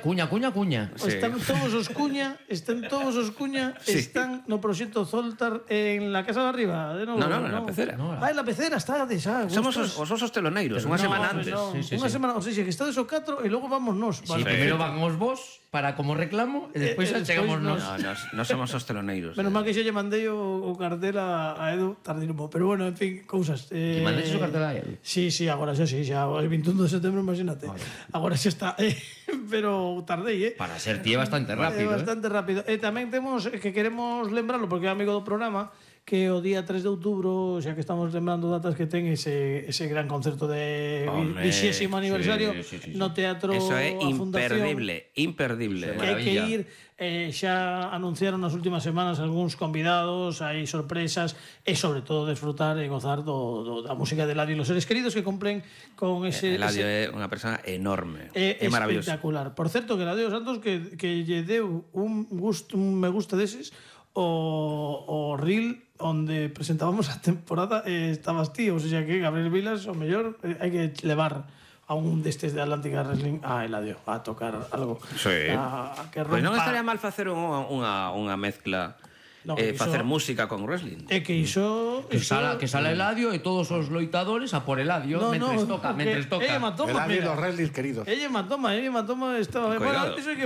Cuña. Están todos os Cuña, están no proxecto Zoltar en la casa de arriba, de novo. No, na Pecera. En la Pecera está de xa. Somos os osos teloneiros, unha semana antes. Unha semana, o sea, que estades o 4 e logo vamos nós. Sí, primeiro van os vos para como reclamo e despois chegamos nós. No somos os teloneiros. Menos mal que xa lle mandei o cartel a Edu tardísimo, pero bueno, en fin, cousas. Que mandes o cartel a Edu? Sí, agora xa, el 21 de setembro, imagínate. Agora xa está, pero tardei, Para ser tío bastante rápido. Bastante rápido. E tamén temos que queremos lembrarlo porque é amigo do programa, que o día 3 de outubro, xa que estamos lembrando datas que ten ese gran concerto de 20º aniversario no Teatro Eso é a Fundación. imperdible. Que hai que ir, xa anunciaron nas últimas semanas algúns convidados, hai sorpresas e sobre todo desfrutar e gozar da música de Eladio e los seres queridos que cumplen con ese... Eladio é unha persona enorme, é maravilloso. Espectacular. Por certo, que Eladio Santos que lle deu un me gusta deses o reel onde presentábamos a temporada estabas ti, ou sea que Gabriel Vilas o mellor hai que levar a un destes de Atlántica Wrestling a Eladio a tocar algo. Sí. Que rompa... Pois non estaría mal facer unha mezcla, facer música con wrestling. É que iso... Que sala Eladio e todos os loitadores a por Eladio mentres toca. Ella matoma, Eladio e los wrestlings queridos. Ella matoma estaba... Cuidado. Iso hai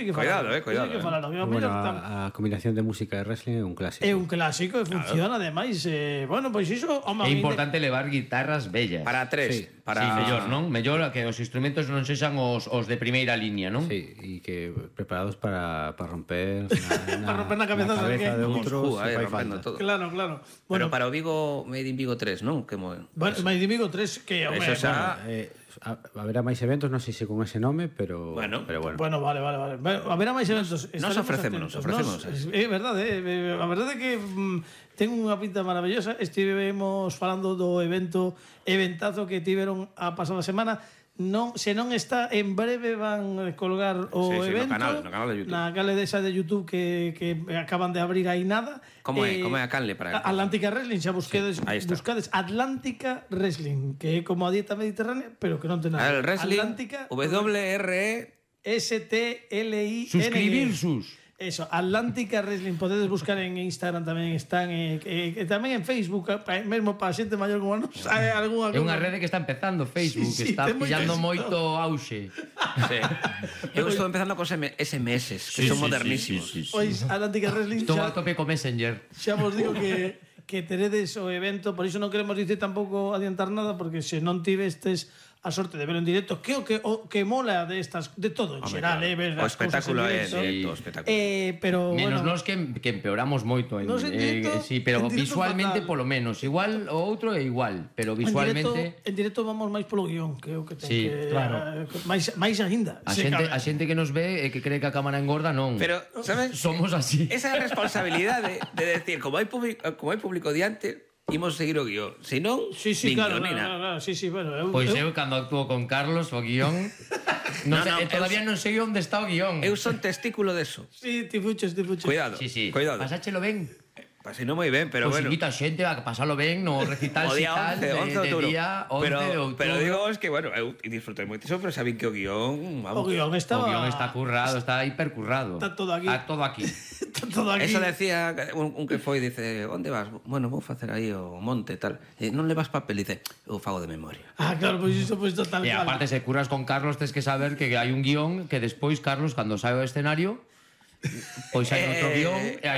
que Cuidado. A combinación de música e wrestling é un clásico. É un clásico e funciona, ademais. Bueno, pois iso... É importante levar guitarras bellas. Para tres. Sí, mellor, non? Mellor que os instrumentos non sexan os de primeira liña, non? Sí, e que preparados para romper para romper na cabeza de outros, rompendo todo. Claro. Pero para o Vigo Made in Vigo 3, non? Bueno, Made in Vigo 3 que eso xa... Haberá máis eventos, non sei se con ese nome, pero bueno. Bueno, vale. Haberá máis eventos. Nos ofrecemos. É verdade, a verdade é que ten unha pinta maravillosa. Estivemos falando do eventazo que tiveron a pasada semana. Non, se non está, en breve van colgar o evento no canal de YouTube. na canle desa de YouTube que acaban de abrir aí nada. Como é a canle para Atlántica Wrestling, xa buscades Atlántica Wrestling, que é como a dieta mediterránea, pero que non ten nada. El wrestling, Atlántica WRE STLIN. Suscribirsus. Eso, Atlántica Wrestling, podedes buscar en Instagram tamén están, e tamén en Facebook, mesmo para xente maior como nos. É unha rede que está empezando, Facebook, que está pillando moito auxe. Eu estou empezando con SMS, que son modernísimos. Pois Atlántica Wrestling estou a tope con Messenger. Xa vos digo que teredes o evento, por iso non queremos dicir tampouco adiantar nada, porque se non tivestes a sorte de verlo en directo, que o que mola de todo en xeral, ver o espectáculo é directo, pero menos nos que empeoramos moito en directo, sí, pero visualmente polo menos, igual o outro é igual, pero visualmente en directo vamos máis polo guión, que o que ten que claro. máis aínda. A xente que nos ve e que cree que a cámara engorda, non. Pero, sabes? Somos así. Esa responsabilidade de decir, como hai público diante, imos seguir o guión. Se non, claro, bueno, pois eu cando actúo con Carlos o guión todavía non sei onde está o guión. Eu son testículo deso. Sí, ti fuches. Cuidado. Pasáchelo ben. Pasino moi ben, pero pues bueno. Invita a xente a pasalo ben no recital o día 11 de outubro. Pero digo, es que, bueno, eu disfrutei moitísimo, pero sabín que o guión... O guión está currado, está hipercurrado. Está todo aquí. Está todo aquí. Eso decía un que foi, dice, onde vas? Bueno, vou facer aí o monte, tal. Non levas papel? Dice, eu fago de memoria. Claro, pois iso pues total. E aparte, se curras con Carlos, tens que saber que hai un guión que despois, Carlos, cando sae ao escenario... Pois hai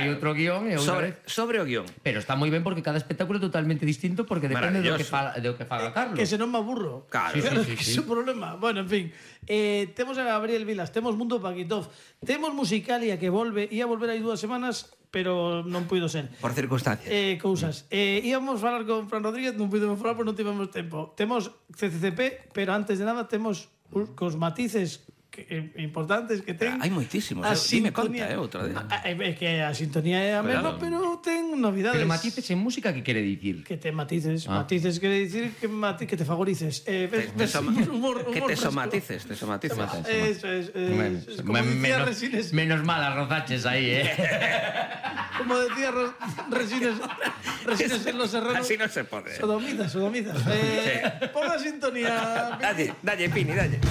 outro guión e outra vez sobre o guión. Pero está moi ben porque cada espectáculo é totalmente distinto, porque depende do que faga Carlos. Que se non me aburro. Claro, que é un problema. Bueno, en fin, temos a Gabriel Vilas, temos Mundo Paquitov, temos Musicalia que ia volver hai 2 semanas, pero non puido ser por circunstancias. Cousas. Íamos falar con Fran Rodríguez, non pudemos falar porque non tivemos tempo. Temos CCCP, pero antes de nada temos cos matices importantes que ten. Hai moitísimos. Dime conta, outra vez. É que a sintonía é a mesma, pero ten novidades. Pero matices en música, que quere dicir? Que ten matices. Matices quere dicir que te favorices. Que te somatices. Eso es. Menos mal arrozaches aí, Como decía Resines en Los Serranos. Así non se pode. Sodomizas. Pon a sintonía. Dalle, Pini, dalle.